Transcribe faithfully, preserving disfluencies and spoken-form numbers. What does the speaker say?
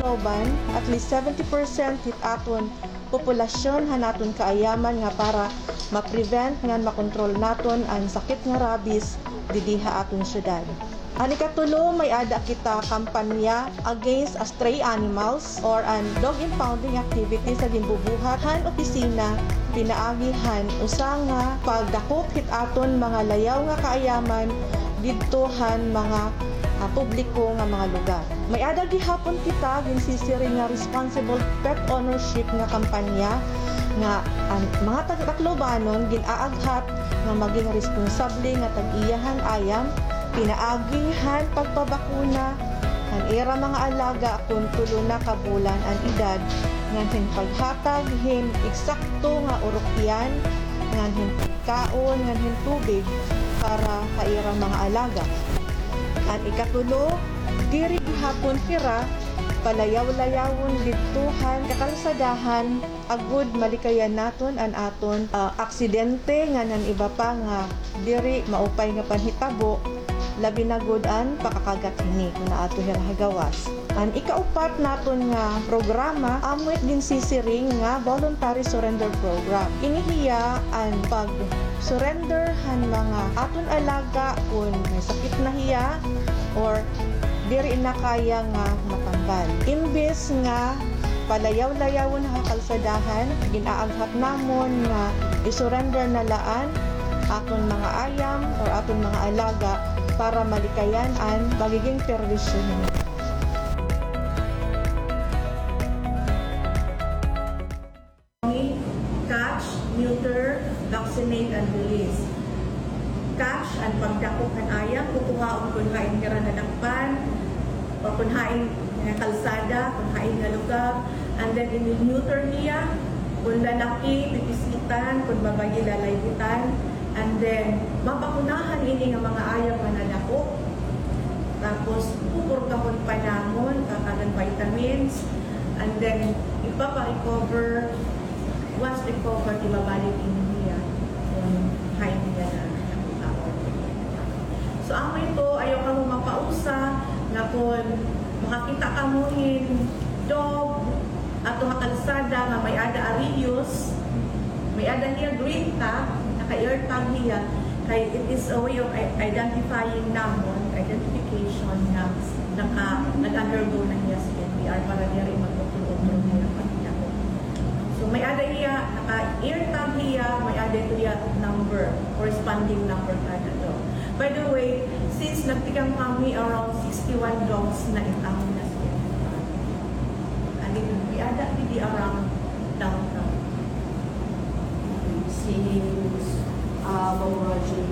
Uban, at least seventy percent hit aton populasyon han aton kaayaman nga para ma-prevent ngan makontrol naton an sakit nga rabies didi ha aton syudad. An ikatulo, may-ada kita kampanya against a stray animals or an dog impounding activities nga ginbubuhat han opisina pinaagi han usa nga pagdakop hit aton mga layaw nga kaayaman didto han mga, ah, publiko nga mga lugar. May-ada gihapon kita ginsisiring nga responsible pet ownership nga kampanya nga an mga taga-Taclobanon gin-aaghat nga maging responsable nga tag-iya han ayam, pinaagi han pagpabakuna han ira mga alaga kon tulo na ka bulan an edad, ngan hin paghatag hin eksakto nga urukyan, ngan hin pagkaon, ngan hin tubig para ha ira mga alaga. An ikatulo, diri gihapon hira palayaw-layawon didto han kakalsadahan, agod malikayan naton an aton, ah, aksidente ngan an iba pa nga diri maupay nga panhitabo, labi na gud an pakakagat hini kon aadto hira ha gawas. An ikaupat naton nga programa, amo it ginsisiring nga Voluntary Surrender Program. Ini hiya an pag-surrender han mga aton alaga kon may sakit na hiya or diri na kaya nga matambal. Imbes nga palayaw-layawon ha kalsadahan, gin-aaghat namon nga i-surrender na la an aton mga ayam or aton mga alaga para malikayan an magiging perwisyo nila. Catch, neuter, vaccinate, and release. Catch, an pagdakop han ayam, kukuhaon kon hain hira nadakpan, o kon hain nga kalsada, kon hain nga lugar. And then, i-neuter niya, kon lalaki, pipisitan, kon babayi, lalaygutan. And then, mabakunahan ini nga mga ayam nga nadakop. Tapos, pupurgahon pa namon, kakanan vitamins. And then, ipapa-recover, once recover, ibabalik ini niya kon hain niya na nakuha. So, amo ito, ayaw kamo mapausa nga kon makakita kamo hin dog, ato ha kalsada nga may-ada ariyos, may-ada hiya green tag, naka-air tag hiya, kay it is a way of i-, identifying namon, identification nga naka-, nag-undergo na hiya sa N P R para diri magutro-utro hiya pagkita ko. So, may-ada hiya, naka-air tag hiya, may-ada ito hiya number, corresponding number kada dog. By the way, since nagtikang kami, around sixty-one dogs na it amon na-spot. Adi, may-ada didi around downtown. Since, ah, Ma'am Roger,